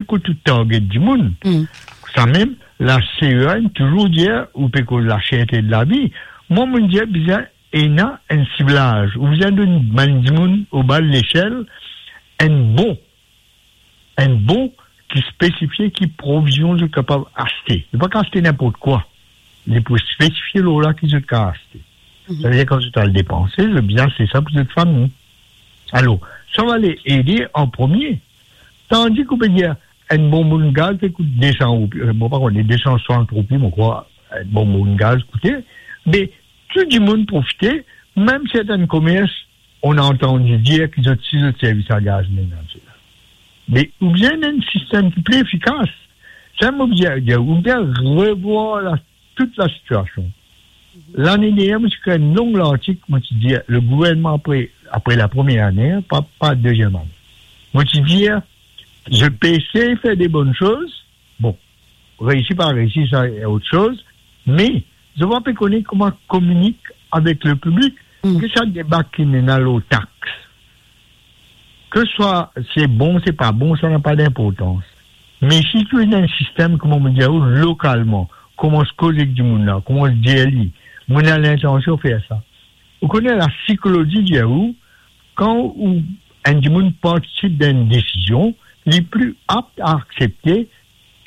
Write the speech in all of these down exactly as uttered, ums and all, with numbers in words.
kot ou target dimoun. Samem, la C E A inn touzour dir, ou pe koz laserte de lavi. Mwa, mo dir, bizin ena enn siblaz. Ou bizin donn bann dimoun oba lesel enn bon, enn bon ki spesifie ki provizion zot kapav aste. Zot pa kapav aste ninport kwa. Li pou spesifie lor la ki zot kapav aste. Savedir, kan zot al depanse, zot bizin aste sa pou zot fami. Alor, sa va ale ede an premie. Tandis ki ou pe dir, enn bonbonn gaz pe kout de san roupi, euh, mo pa kone, de san swasant roupi, mo krwar, enn bonbonn gaz koute, me tou dimoun profite, mem sertenn komers, on a antandi dir ki zot, si zot servi sa gaz menaze la. Me ou bizin enn sistem ki pli efikas. Sa mo bizin dir, ou bizin revwar la, tout la sitiasion. Lane dernie, mo ti ekrir enn long lartik, mo ti dir, le gouvernman apre, apre la premie ane, pa, pa deziem ane. Mo ti dir, zot pe esey fer de bonn soz, bon, reisi pa reisi, sa e ot soz, me zot pa pe kone kouma kominik avek le piblik, ke sa deba ki ena lor tax. Ke swa se bon, se pa bon, sa napa dinportans. Me si tou ena enn sistem, kouma mo dir ou, lokalman, koumans koz ek dimoun la, koumans dir li, mo ena lintansion fer sa. Ou kone la sikolozi dir ou, kan ou, enn dimoun partisip dan enn desizion, li pli apt a aksepte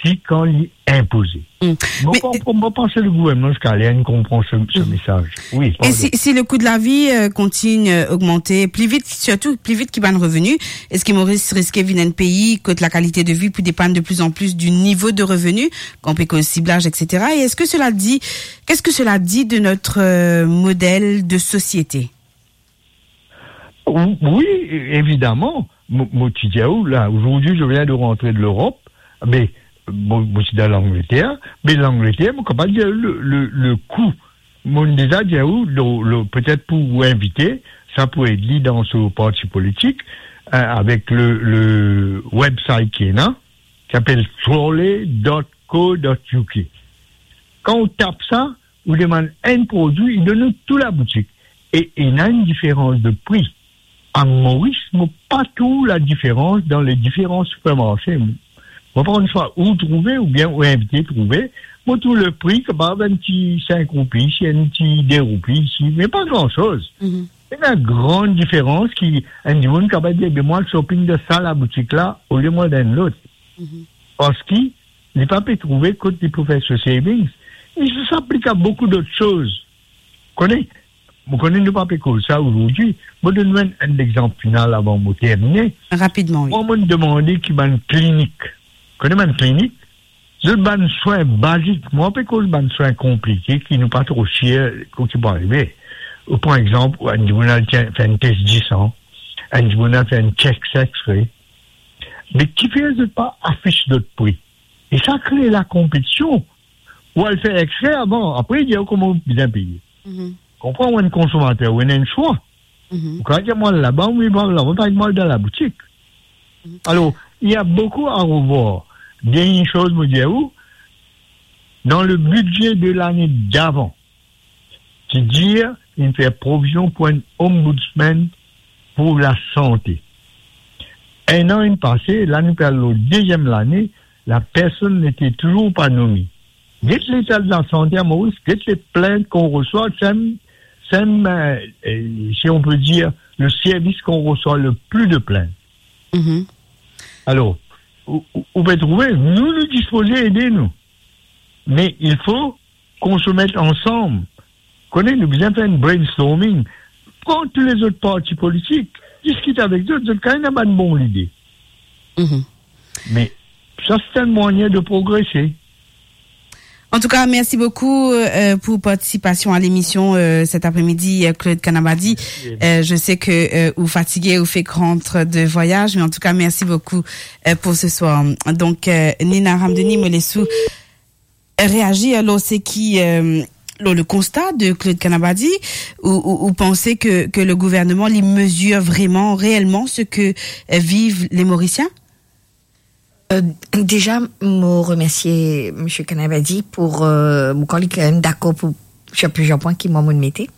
ki kan li inpoze. Mo pa, mo pa panse le gouvernman ziska la inn konpran se, se mesaz. Wi, e si, si le kou de lavi, euh, kontign, euh, ogmante pli vit, sirtou pli vit ki bann reveni, eski Moris riske vinn enn pei kot lakalite de vi pou depann de pli an pli di nivo de reveni, kan pe koz siblaz, et cetera? Et est-ce que cela dit, qu'est-ce que cela dit de notre, euh, modèle de société? Ou-, wi, evidaman. Mo, mo ti dir ou, la, aujourd'hui, je viens de rentrer de l'Europe, me mo, mo ti dan Langleter, me Langleter, mo kapav dir le, le, le kou. Mo deza dir ou, le, le, petet pou ou invite, sa pou ed li dan so parti politik, euh, avek le, le website ki ena, ki apel trolley dot co dot U K. Kan ou tap sa, ou demann enn prodwi, li donn ou tou laboutik. E ena enn diferans de pri. A Moris, mo pa trouv ladiferans dan le diferan sipermarse. Mo pa konn swa ou trouve oubien ou invite trouve. Mo trouv le pri kapav enn ti sink roupi isi, enn ti de roupi isi, me pa gran soz. Ena gran diferans ki enn dimoun kapav dir, "Be, mo al shopping dan sa laboutik la, olie mo al dan enn lot." Parski li pa pe trouve kot li pou fer so savings. E sa, sa aplik a boukou dot soz. Kone, mo kone nou pa pe koz sa aujourd'hui. Mo donn ou enn, enn lexanp final avan mo termine. Rapidman, wi. Mwa, mo demande ki bann klinik, kone bann klinik, zot bann swin bazik, mo pa pe koz bann swin konplike ki nou pa tro sir ki pou arive. Ou pran exanp, enn dimoun al fer enn tes disan, enn dimoun al fer enn chest X-ray. Me kifer zot pa afis zot pri? E sa kre lakonpetision. Ou al fer X-ray avan, apre dir ou kouma ou bizin peye. Konpran, ou enn konsomater, ou ena enn swa. Ou kapav dir, "Mo al laba, ou mo al laba, pa mo al dan laboutik." Alor, il y a beaucoup à revoir. Dernie soz mo dir ou, dan le bidze de lane davan, ti dir inn fer provizion pou enn ombudsman pou lasante. Enn an inn pase, la nou pe al lor deziem lane, la personn nete touzour pa nome. Get leta de lasante a Moris, get le plint ki ou resevwar, sem, sem, euh, euh, si on peut dire, le service qu'on reçoit le plus de plaintes. Alor, ou, ou, ou pe trouve, nou, nou dispoze ede nou. Me il faut qu'on se mette ensemble. Kone, nou bizin fer enn brainstorming. Pran tou lezot parti politik, diskit avek zot, zot kapav ena bann bon lide. Me sa, se enn mwayin de progrese. En tout cas, merci beaucoup, euh, pour participation à l'émission, euh, cet après-midi, euh, Claude Kanabadi. Euh, je sais que, euh, vous fatiguez, vous faites rentrer de voyage, mais en tout cas, merci beaucoup, euh, pour ce soir. Donc, euh, Nina Ramdeni, mo les ou réagir lor seki, euh, lor le constat de Claude Kanabadi, ou, ou, ou pensez que, que le gouvernement, il mesure vraiment, réellement ce que, euh, vivent les Mauriciens? Euh, déjà, mo remercie monsieur Kanabadi pour, euh, bon, kan li kanmem dakor pou, sur plusieurs points ki mwa mo mete.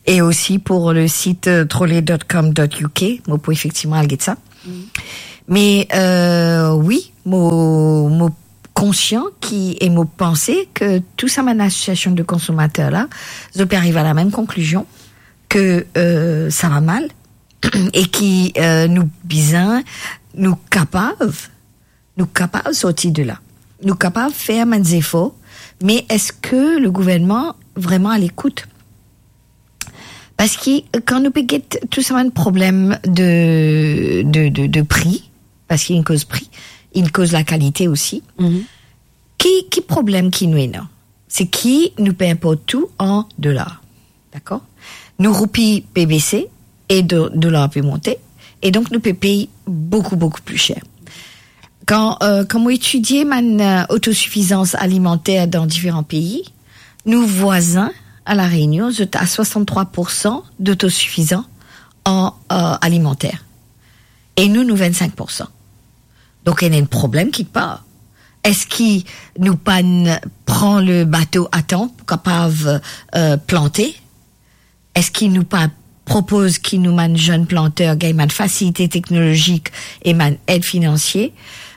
Et aussi pour le site, euh, trolley dot com dot U K, mo pou efektivman al get sa. Me, euh, wi, mo, mo konsian ki, e mo panse ke tou sa bann asosiasion de konsomater la, zot pe ariv a lamem konklizion ke, euh, sa va mal e ki, euh, nou bizin, nou kapav, nou kapav sorti de la. Nou kapav fer bann zefor, me eski le gouvernman vreman a lekout? Parski kan nou pe get tou sa bann problem de, de, de, de pri, parski inn koz pri, inn koz lakalite osi. Mhm. Ki, ki problem ki nou ena? Se ki nou pe inport tou an dolar. Dakor? Nou roupi pe bese e do-, dolar pe monte, e donk nou pe pey boukou, boukou pli ser. Kan, euh, kan mo etidie bann, euh, autosuffisance alimentaire dans différents pays, nou vwazin a La Réunion, zot a soixante-trois pour cent d'autosuffisants en, euh, alimentaire. E nou, nou vennsenk pour cent. Donk, ena enn problem kikpar. Eski nou pa'nn pran le bato a tan pou kapav, euh, plante? Eski nou pa propoz ki nou bann zenn planter gagn bann fasilite teknolozik e bann ed finansie?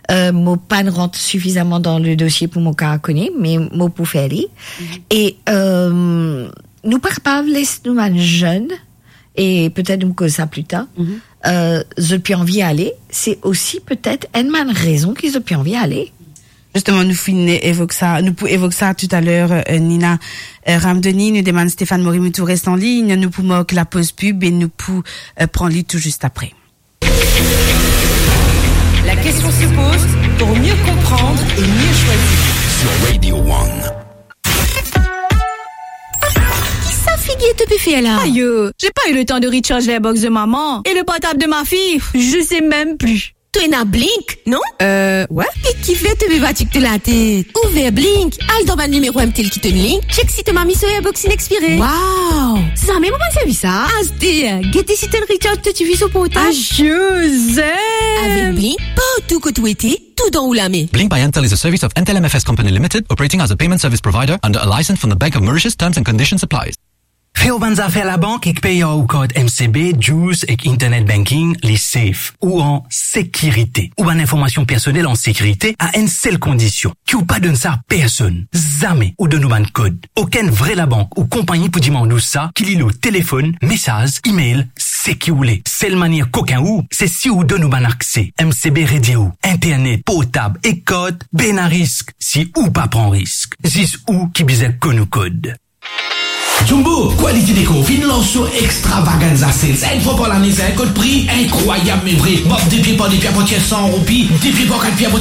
Euh, mo pa'nn rant sifizaman dan le dosie pou mo kapav kone, me mo pou fer li. Mhm. E, euh, nou pa kapav les nou bann zenn, e petet nou koz sa pli tar, mhm, euh, zot pi anvi ale, se osi petet enn bann rezon ki zot pi anvi ale. Zisteman, nou finn evok sa, nou pou evok sa toutaler, euh, Nina. Euh, Ramdoni, nou demann Stéphane Morimoutou res an lign, nou pou mark lapoz pib e nou pou, euh, pran li tou zis apre. La question se pose pour mieux comprendre et mieux choisir. Sur Radio One. Ki sa figir to pe fer la? Ayo, j'ai pas eu le temps de recharge la box de maman et le portable de ma fille, je sais même plus. To ena Blink, non? Euh, ouais. E kifer to pe batik to latet? Ouver Blink, al dan bann nimero M T L ki to link, check si to mami so Airbox inn expire. Wow! Zame mo pa'nn servi sa. Aster, gete si to inn recharge to T V so portab. Ayo, zem! Avek Blink, partou kot ou ete, tou dan ou lame. Blink by Entel is a service of Entel M F S Company Limited, operating as a payment service provider under a license from the Bank of Mauritius. Terms and conditions apply. Fer ou bann zafer labank ek pey ar ou kart M C B, Juice ek internet banking, li safe ou an sekirite. Ou bann informasion personel an sekirite a enn sel kondision, ki ou pa donn sa a personn. Zame ou donn ou bann kod. Okenn vre labank ou konpagni pou dimann ou sa, ki li lor telefonn, mesaz, email, seki ou le. Sel manier kokin ou, se si ou donn ou bann akse. M C B redir ou, internet, portab ek kart, bena risk si ou pa pran risk. Zis ou ki bizin konn ou kod. Jumbo Quality Decor finn lans so extravaganza sale. Sa enn fwa par lane, sa enn kot pri inkrwayab, me vre. Mab de pie par de pie, apartir san roupi, de pie par kat pie, apartir